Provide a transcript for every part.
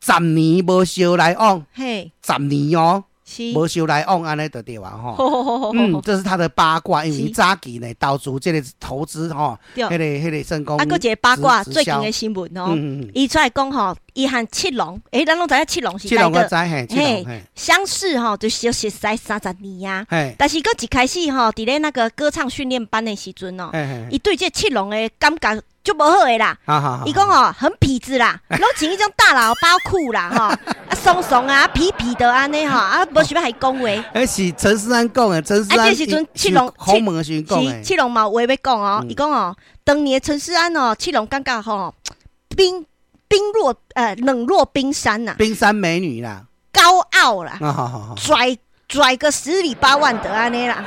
十年無相來往，十年哦，無相來往，按呢就對啊吼。嗯，這是他的八卦，因為早期呢投資這個投資吼，彼個成功。啊，閣一個八卦最近的新聞哦，伊出來講吼，伊和七龍，欸，咱攏知影七龍是七龍我知嘿，嘿，相識吼就相識30年啊。但是閣一開始吼，佇咧那個歌唱訓練班的時陣哦，伊對這七龍的感覺就無好的啦。伊講哦，很痞子啦，攏穿彼種大喇叭褲啦，吼，啊慫慫啊，痞痞的按呢吼，啊無想欲共伊講話。欸，是陳勢安講的，陳勢安。啊，這時陣七龍訪問的時陣講的。七龍嘛有話欲講哦，伊講哦，當年陳勢安哦，七龍感覺吼冰若冷若冰山吶。冰山美女啦。高傲啦。拽拽個十里八萬的按呢啦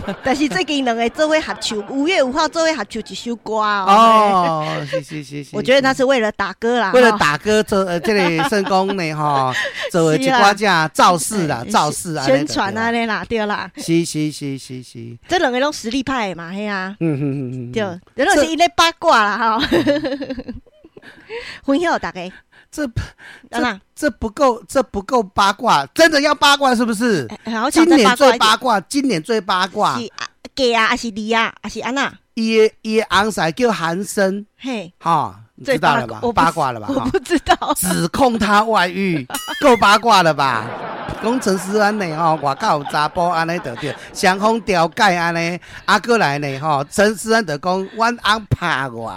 吼，但是最近兩个做伙合唱，5月5號做伙合唱一首歌哦。哦，是是是是。我覺得那是為了打歌啦。為了打歌做這個成功呢吼，做一寡這造勢啦，造勢啊。宣傳按呢啦，對啦。是是是是是。這兩個攏實力派的嘛，嘿啊。對，這攏是𪜶咧八卦啦吼。分享予大家。這不夠，這不夠八卦，真的要八卦是不是？今年最八卦，今年最八卦。是假啊，還是你啊，還是按怎？伊的翁婿叫韓森，哈，你知道了吧？八卦了吧？我不知道。指控他外遇，夠八卦了吧？講陳勢安呢吼，外口有查埔按呢就對，雙方調解按呢，啊閣來呢吼，陳勢安就講阮翁拍我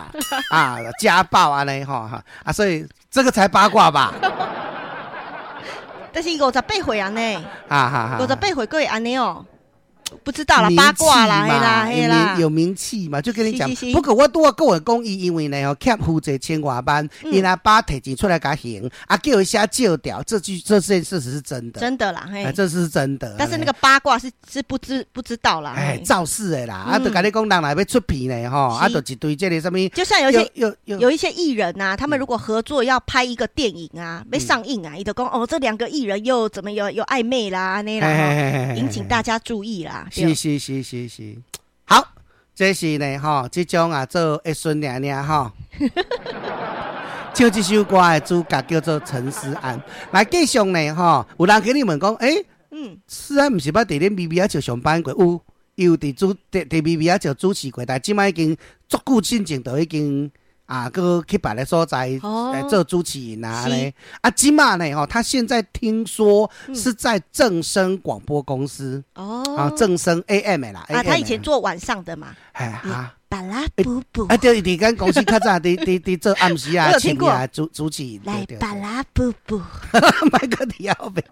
啊，家暴按呢吼，啊，所以這個才八卦吧？但是58歲啊呢，58歲閣會按呢哦。不知道啦，八卦啦，嘿啦，嘿啦，有名氣嘛，就跟你講。不過我拄仔閣有講伊，因為呢吼欠負債千外萬，伊阿爸提錢出來共還，啊叫伊寫借條，這件事實是真的。真的啦，嘿，這是真的。但是那個八卦是不知道啦。哎，造勢的啦，啊，就共你講，人若欲出片呢，吼，啊，就一堆這個啥物。就像有一些藝人啊，他們如果合作要拍一個電影啊，欲上映啊，伊就講哦，這兩個藝人又怎麼有曖昧啦，那啦，引起大家注意啦。是是是是是，好，這是呢吼，這種啊做一孫爾爾吼，唱這首歌的主角叫做陳勢安。來繼續呢吼，有人給你問講，欸，勢安毋是捌佇咧微微仔笑上班過？有，伊有佇微微仔笑主持過，但這擺已經足久進前就已經啊，閣去別个所在來做主持人啊咧。啊，這馬呢吼，他現在聽說是在正聲廣播公司啊，正聲 AM 的啦。啊，他以前做晚上的嘛。哎啊，巴拉布布。啊，對，佇間公司較早佇做暗時啊，深夜主持人。來巴拉布布。莫閣佇後面。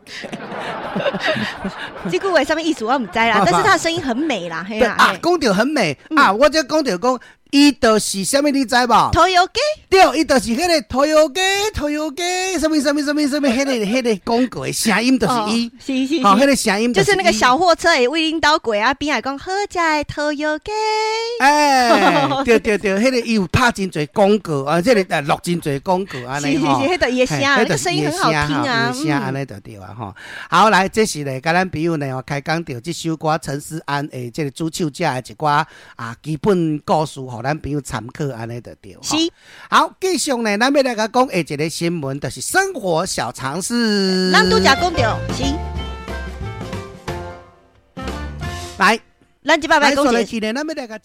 這句話啥物意思我毋知啦，但是他的聲音很美啦。對啊，講著很美啊，我這講著講。伊就是啥物你知無？拖油機。對，伊就是彼個拖油機，拖油機，啥物啥物啥物啥物，彼個廣告的聲音就是伊。是是。吼，彼個聲音就是那個小貨車會為恁兜過啊，邊仔講好食的拖油雞。欸，對對對，彼個伊有拍真濟廣告啊，這個錄真濟廣告按呢吼。是是是，彼個伊的聲，那個聲音很好聽啊。聲按呢就對啊吼。好，來，這是咧，共咱朋友呢，開講著這首歌陳勢安的這個主唱者的一寡啊基本故事，予咱朋友參考按呢就對。是。好，繼續呢，咱欲來共講下一個新聞，就是生活小常識。咱拄才講著是。來。咱這擺欲講一個，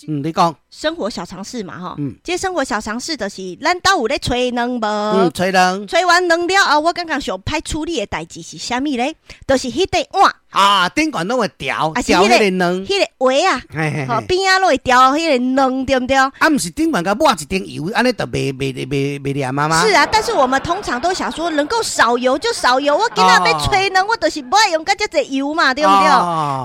你講生活小常識嘛，吼，這生活小常識就是咱兜有咧炊卵無？嗯，炊卵。炊完卵了後，我感覺上歹處理的代誌是啥物咧？就是彼塊碗。啊，頂懸攏會掉，掉彼个卵。彼个鞋啊，吼，邊仔攏會掉彼个卵，對毋對？啊，毋是頂懸共抹一層油，按呢就袂黏啊嗎？是啊，但是我們通常都想說，能夠少油就少油。我今仔欲炊卵，我就是無愛用佮遮濟油嘛，對毋對？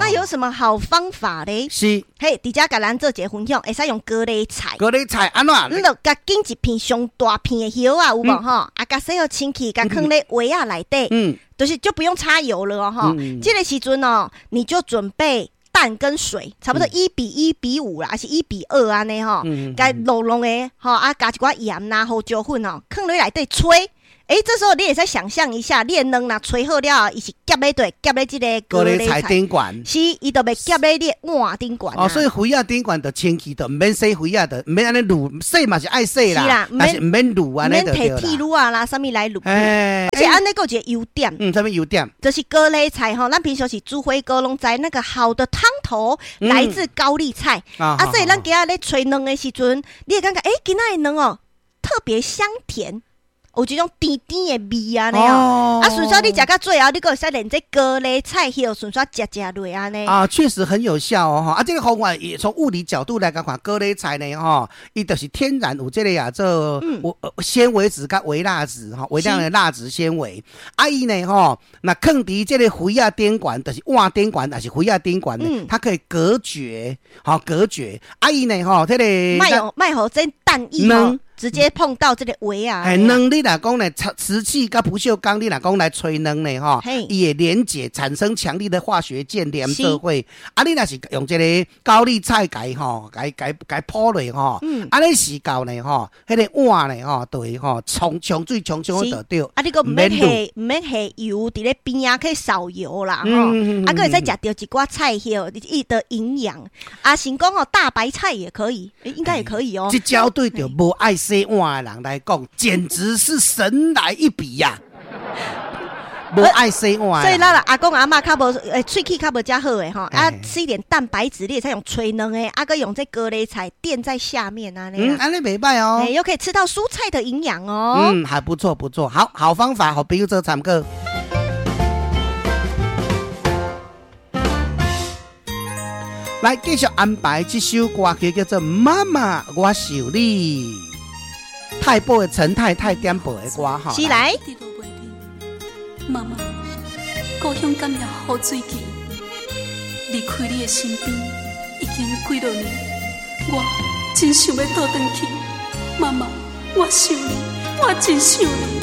那有什麼好方法咧？是。嘿，佇遮共咱做一個分享，會使用高麗菜。高麗菜按怎？你就共揀一片上大片的葉仔，有無吼？啊，共洗予清氣，共囥咧鍋仔內底。就是就不用插油了哦，吼。這個時陣哦，你就準備蛋跟水，差不多1比1比5啦，還是1比2按呢吼，共滷滷的吼，啊，加一寡鹽啦、胡椒粉哦，囥落內底炊。欸，這時候你會使想象一下，你的卵若炊好了後，伊是夾咧對，夾咧這個高麗菜頂懸。是，伊就袂夾咧你的碗頂懸。哦，所以鍋仔頂懸就清氣，就毋免洗鍋仔，就毋免按呢滷，洗嘛是愛洗啦，但是毋免滷按呢就對啦。免提鐵爐啊啦，啥物來滷。而且按呢閣有一個優點。嗯，啥物優點？就是高麗菜吼，咱平常時煮火鍋攏知那個好的湯頭來自高麗菜。啊，所以咱今仔咧炊卵的時陣，你會感覺，欸，今仔的卵哦，特別香甜。有這種甜甜的味按呢哦，啊，順紲你食到最後，你閣會使連這高麗菜葉順紲食食落按呢。啊，確實很有效哦，哈！啊，這個方法也從物理角度來講看，高麗菜呢，吼，伊就是天然有這個啊，做纖維質佮微蠟質，吼，微量的蠟質纖維。啊，伊呢，吼，若囥佇這個鍋仔頂懸，就是碗頂懸，抑是鍋仔頂懸呢，它可以隔絕，吼，隔絕。啊，伊呢，吼，這個莫予莫予這蛋液吼。直接碰到這個鍋仔！嘿，卵你若講呢，瓷器佮不鏽鋼，你若講來炊卵呢，吼，伊會連結產生強力的化學鍵連做伙。啊，你若是用這個高麗菜共吼，共共共鋪落吼，按呢時到呢，吼，彼個碗呢，吼，就會吼沖沖水沖沖就對。啊，你閣毋免下毋免下油，佇咧邊仔可以少油啦，吼。啊，閣會使食著一寡菜葉，伊的營養。啊，是講哦，大白菜也可以，應該也可以哦。這招對著無愛洗碗的人來講，簡直是神來一筆呀！無愛洗碗，所以咱阿公阿嬤較無，欸，喙齒較無遮好的吼，啊，吃一點蛋白質，你會使用炊卵的，啊，閣用這高麗菜墊在下面啊，嗯，按呢袂䆀哦，又可以吃到蔬菜的營養哦。嗯，還不錯，不錯，好好方法，予朋友做參考。來繼續安排這首歌曲，叫做《媽媽我想你》。太保的陳太太點播的歌哈，是來。媽媽，故鄉感謝雨水季，離開你的身邊已經幾落年，我真想欲倒轉去。媽媽，我想你，我真想你。